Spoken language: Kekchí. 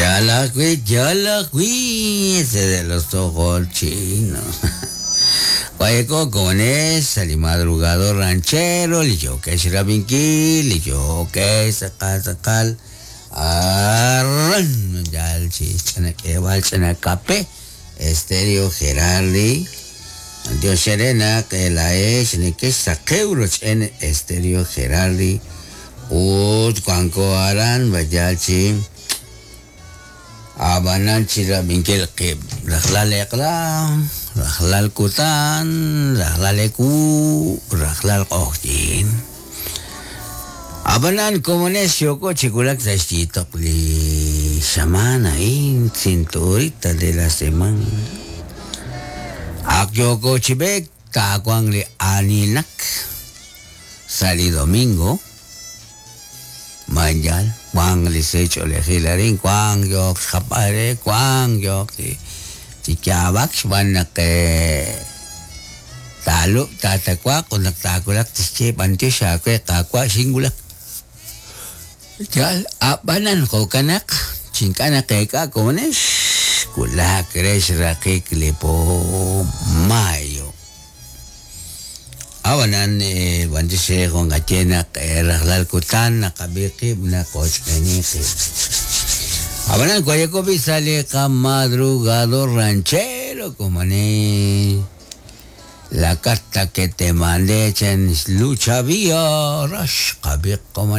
Yal ajwi', ese de los ojos chinos. Guayco con esa, li madrugador ranchero, li yokesh rabinki, li yokesh sakal sakal, arran, yal chich, chana kebal, chana kape, Estéreo Gerardi, Dios Serena, que la es, ni que saqueuros en Estéreo Gerardi, ut cuanco aran, bayalchi, abanan chirabinkel qib, rajlal eqla, rajlal kutan, rajlal eku, rajlal q'ojyin. Abanan komones yoko chikulak sa xyitok li xamana in cinturita de la semana. Ak yoko chibek takwang li aninak sali domingo. Manjal, kwang li secho le hilarin, kwang yok xapare, kwang yok si chikyabak xban nak talo tatakwa kun naktakulak tische bantyo siya kwe kakwa singulak. Yal, abanan ko kanak, chinkana keka komones, kulak res rakik lipo mayo. Awanan bantyo siya kung katyenak raklal kutan nakabikib na kochpenikib. Abanan kwayakobi sale ka madrugador ranchero komane. La carta que te mandé en lucha vía, rash kabik komane.